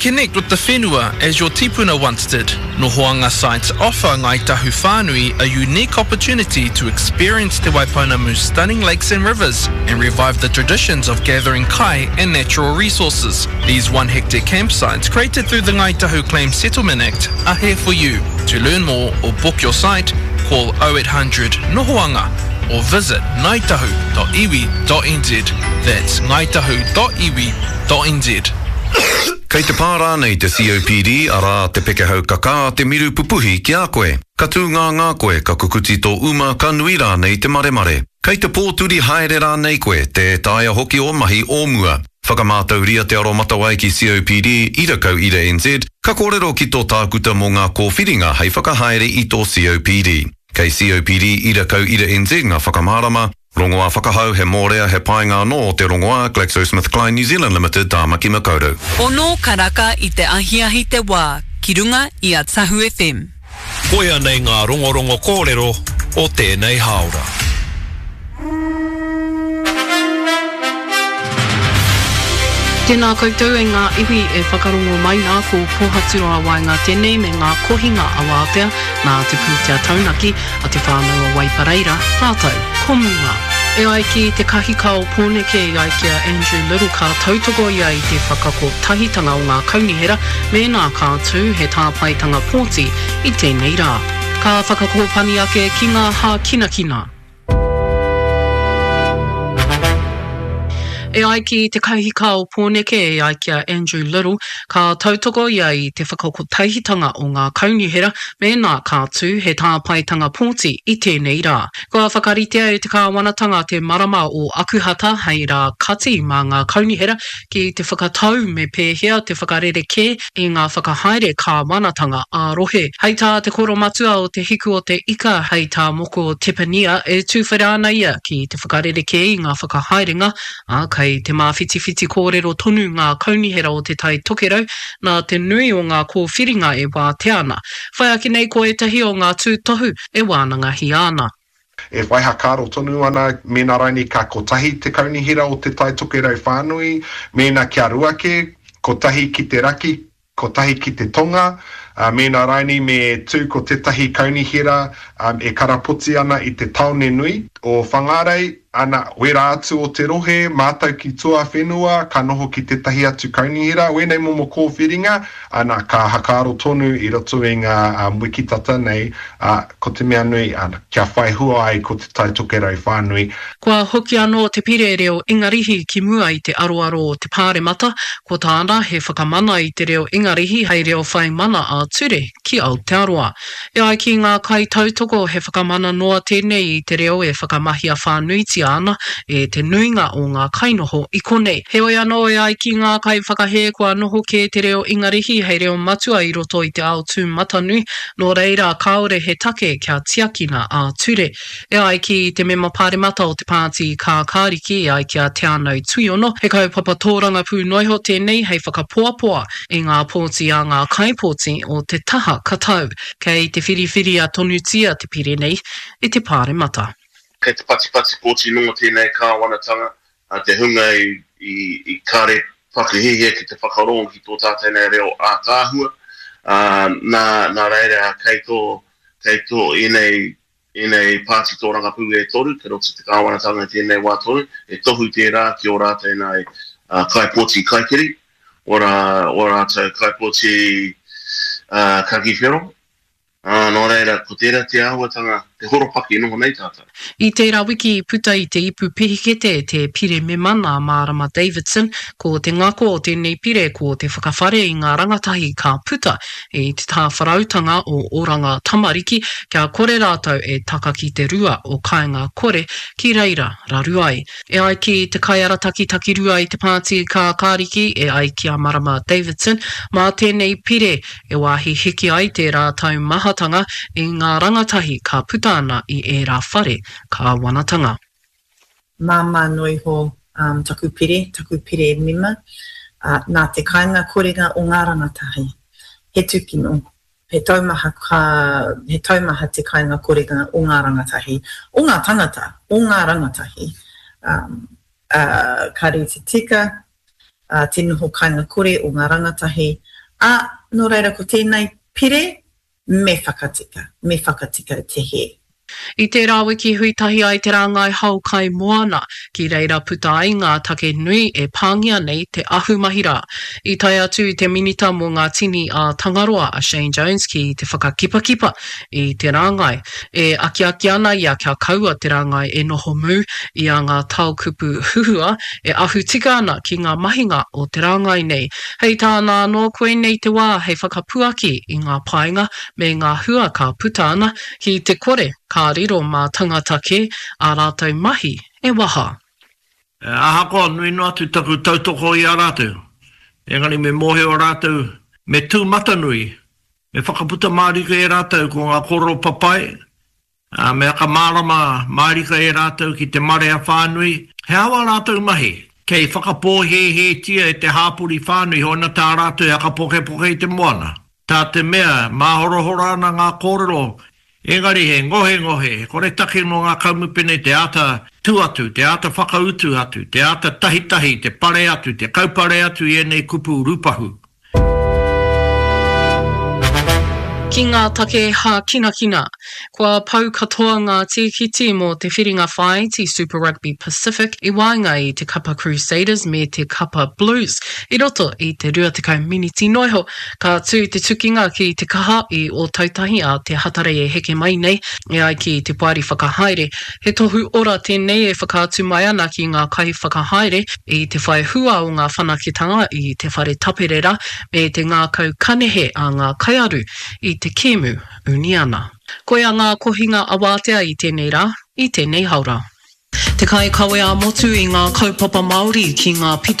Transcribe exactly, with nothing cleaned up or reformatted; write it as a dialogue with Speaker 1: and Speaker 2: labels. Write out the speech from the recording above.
Speaker 1: Reconnect with the whenua as your tipuna once did. Nohoanga sites offer Ngāi Tahu Whānui a unique opportunity to experience Te Waipounamu's stunning lakes and rivers and revive the traditions of gathering kai and natural resources. These one hectare campsites created through the Ngāi Tahu Claim Settlement Act are here for you. To learn more or book your site, call oh eight hundred Nohoanga or visit ngaitahu dot iwi dot n z. That's ngaitahu dot iwi dot n z.
Speaker 2: Kei te pā rānei te C O P D, arā te pekehau kakā, te miru pupuhi ki a koe. Ka tū ngā ngā koe, ka kukuti tō uma, ka nui rānei te maremare. Kei te pōturi haere rānei koe, tē taea hoki o mahi o mua. Whakamātauria te aromatawai ki C O P D, ira kau ira N Z, ka kōrero ki tō tākuta mō ngā kōwhiringa hei whakahaere i tō C O P D. Kei C O P D ira kau ira N Z ngā whakamārama, rongoā whakahau he mōrea he painga anō o te rongoā GlaxoSmithKline New Zealand Limited Tāmaki Makaurau.
Speaker 3: Ono karaka i te ahiahi te wā, ki runga i a Tahu F M.
Speaker 4: Koia nei ngā rongorongo kōrero o tēnei hāora.
Speaker 5: Tēnā koutou e ngā iwi e whakarongo mai nā ko Pohaturoa Waenga tēnei me ngā kohinga awātea nā te pūtea taunaki a te whānau o Waipareira, rātou ko Munga. E ai ki te kahika o Pōneke i ai ki a Andrew Little ka tautoko ia i te whakakotahitanga o ngā kaunihera mēnā ka tū he tāpaetanga pōti i tēnei rā. Ka whakakōpani ake ki ngā hākinakina. E ai ki te kahika o Pōneke, e ai ki a Andrew Little, ka tautoko ia i te whakakotahitanga o ngā kaunihera mēnā ka tū he tāpaetanga pōti i tēnei rā. Kua whakaritea e te kāwanatanga te marama o Akuhata hei rā kati mā ngā kaunihera ki te whakatau me pēhea te whakarerekē i ngā whakahaere kāwanatanga ā-rohe. Hei tā te koromatua o te hiku o te ika, hei tā Moko Tepania e tūwhera ana ia ki te whakarerekē i ngā whakahaerenga, ā, kei te māwhitiwhiti kōrero tonu ngā kaunihera o te Tai Tokerau nā te nui o ngā kōwhiringa e wātea ana. Whai ake nei ko ētahi o ngā tūtohu e wānangahia ana.
Speaker 6: E whai hakaaro tonu ana, mēnā raini ka kotahi te kaunihera o te Tai Tokerau whānui, mēnā kia rua ke, kotahi ki te raki, kotahi ki te tonga, uh, mēnā raini me tū ko tētahi kaunihera, um, e karapoti ana i te taone nui o Whangarei, ana wera atu o te rohe, mātau ki tuawhenua, ka noho ki tētahi atu kaunihera, wēnei momo kōwhiringa, ana ka hakaaro tonu i roto i ngā, um, wiki tata nei, uh, ko te mea nui, ana, kia whai hua ai ko te Tai Tokerau whānui.
Speaker 5: Kua hoki anō te pire reo Ingarihi ki mua i te aroaro o te Pāremata, ko tāna he whakamana i te reo Ingarihi hei reo whai mana ā-ture ki Aotearoa. E ai ki ngā kaitautoko he whakamana noa tēnei i te reo e whakamahia whānuitia ana e te nuinga o ngā kainoho i konei. Heoi anō e ai ki ngā kaiwhakahē kua noho kē te reo Ingarihi hei reo matua i roto i te ao tūmatanui, nō reira kāore he take kia tiakina ā-ture. E ai ki te mema pāremata o te pāti Kākāriki e ai ki a Te Anau Tuiono, he kaupapa tōrangapū noiho tēnei hei whakapoapoa i ngā pōti a ngā kaipōti o te taha katau. Kei te whiriwhiria tonutia te pire nei i te pāremata.
Speaker 7: Kei te patipati pōti noa tēnei kāwanatanga, a te hunga i, i, i kare whakahihia ki te whakarongo ki tō tātou nei reo ātaahua. Uh, nā, nā reira kei tō, kei tō ēnei, ēnei pāti tōrangapū e toru, kei roto te kāwanatanga i tēnei wā toru, e tohu tērā ki o rātou nei, uh, kaipōti kaikiri, o, rā, o rātou kaipōti, uh, kakiwhero. Ah, nō reira, ko tērā te āhuatanga, te horopaki noho nei tātou.
Speaker 5: I tērā wiki i puta i te ipu pihikete te pire mema nā Marama Davidson, ko te ngako o tēnei pire ko te whakawhare i ngā rangatahi ka puta i te tāwharautanga o Oranga Tamariki kia kore rātou e taka ki te rua o Kāinga Kore ki reira raru ai. E ai ki te kaiarataki takirua i te pāti Kākāriki e ai ki a Marama Davidson, mā tēnei pire e wāhi hiki ai tērā taumahatanga i ngā rangatahi ka puta ana i ērā whare kāwanatanga.
Speaker 8: Māmā noiho, um, taku pire, taku pire mema, uh, nā te kāinga korenga o ngā rangatahi. He tūkino, he taumaha, ka, he taumaha te kāinga korenga o ngā rangatahi, o ngā tangata, o ngā rangatahi. Um, uh, ka reti tika, uh, te noho kāinga kore o ngā rangatahi, Ā, nō reira ko tēnei pire, me whakatika, me whakatika te hē.
Speaker 5: I tērā wiki hui tahi ai te rāngai hao kai moana, ki reira puta ai ngā take nui e pāngia nei te ahumahi rā. I tae atu te Minita mō ngā Tini a Tangaroa a Shane Jones ki te whakakipakipa i te rāngai. E akiaki ana ia kia kaua te rāngai e noho mū i a ngā taokupu huhua e ahu tika ana ki ngā mahinga o te rāngai nei. Hei tāna anō, koinei te wā hei whakapuaki i ngā painga me ngā hua ka puta ana ki te kore ka riro mā tangata kē ā rātou mahi e waha.
Speaker 9: Ahakoa nui noa atu taku tautoko i a rātou, engari me mōhio rātou me tūmatanui, me whakaputa mārika e rātou ko ngā kōrero papai, ā, me whakamārama mārika e rātou ki te marea whānui he aha wā rātou mahi, kei whakapōhēhētia e te hāpori whānui hoina tā rātou e whakapokepoke i te moana. Tā te mea, māhorahora ana ngā kōrero, engari he ngohengohe, he koretake nō ngā kamupene te āta tū atu, te āta whakautu atu, te āta tahitahi, te pare atu, te kaupare atu i ēnei kupu rūpahu.
Speaker 5: Ki ngā take hākinakina. Kua pau katoa ngā tīkiti mō te whiringa whāiti Super Rugby Pacific i waenga i te kapa Crusaders me te kapa Blues i roto i te rua tekau miniti noa iho. Ka tū te tukinga ki Te Kaha i Ōtautahi a te Hatarei e heke mai nei, e ai ki te Poari Whakahaere. He tohu ora tēnei e whakaatu mai ana ki ngā kaiwhakahaere i te whai hua o ngā whanaketanga i te whare tapere rā me te ngākau kanehe a ngā kaiaru i te kēmu uniana. Koia ngā kohinga awātea i tēnei rā, i tēnei haora. Te kaikawe ā-motu i ngā kaupapa Māori ki ngā pito